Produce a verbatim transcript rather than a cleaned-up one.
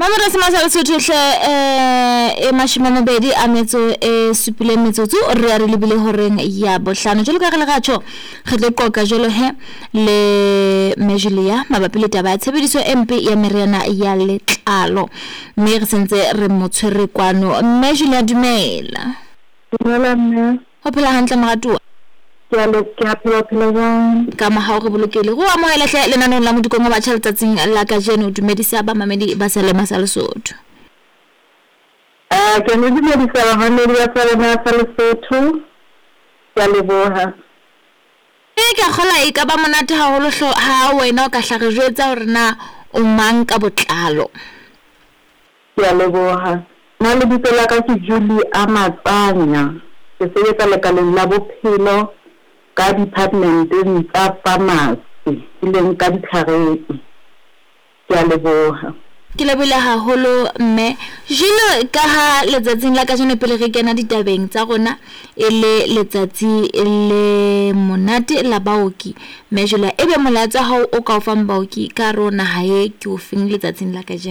Mamela sema sa Lesotho hle eh e mashome a mabedi a metso e supileng metsotso re ya re lebile horeng ya bohlano. Jwalo ka re le ratjho re tlo qoqa jwalo he le Mme Julia mabapi le taba ya tshebediso e mpe ya meriana ya letlalo. Mme re sentse re mo tshwere kwano. Mme Julia dumela. Dumela mme. Ho phela hantle moratuwa? Ke a le ke a phela phela jwang? Ka mohau re bolokehile. Re o amohele hle lenaneong la Modikong wa Batjha letsatsing la kajeno. Dumedisa bamamedi ba Selema sa Lesotho. Eh ke le dumedisa bamamedi ba Selema sa Lesotho. Ke a leboha. E ke a kgola e ka ba monate haholo hlo ha wena o ka hla re jwetsa hore na o mang ka botlalo. Ke a leboha. Nna lebitso la ka ke Julie Amatsanya. Ke sebetsa lekaleng la bophelo ka departmenteng tsa pharmacy, e leng ka ditlhareng. Ke a leboha. Ke lebohile haholo mme. Jwalo ka ha letsatsing la kajeno pele re kena ditabeng tsa rona e le letsatsi le monate la baoki. Mme Julia ebe molaetsa wa hao o ka o fang baoki ka hare ho naha e ke o feng letsatsing la kajeno?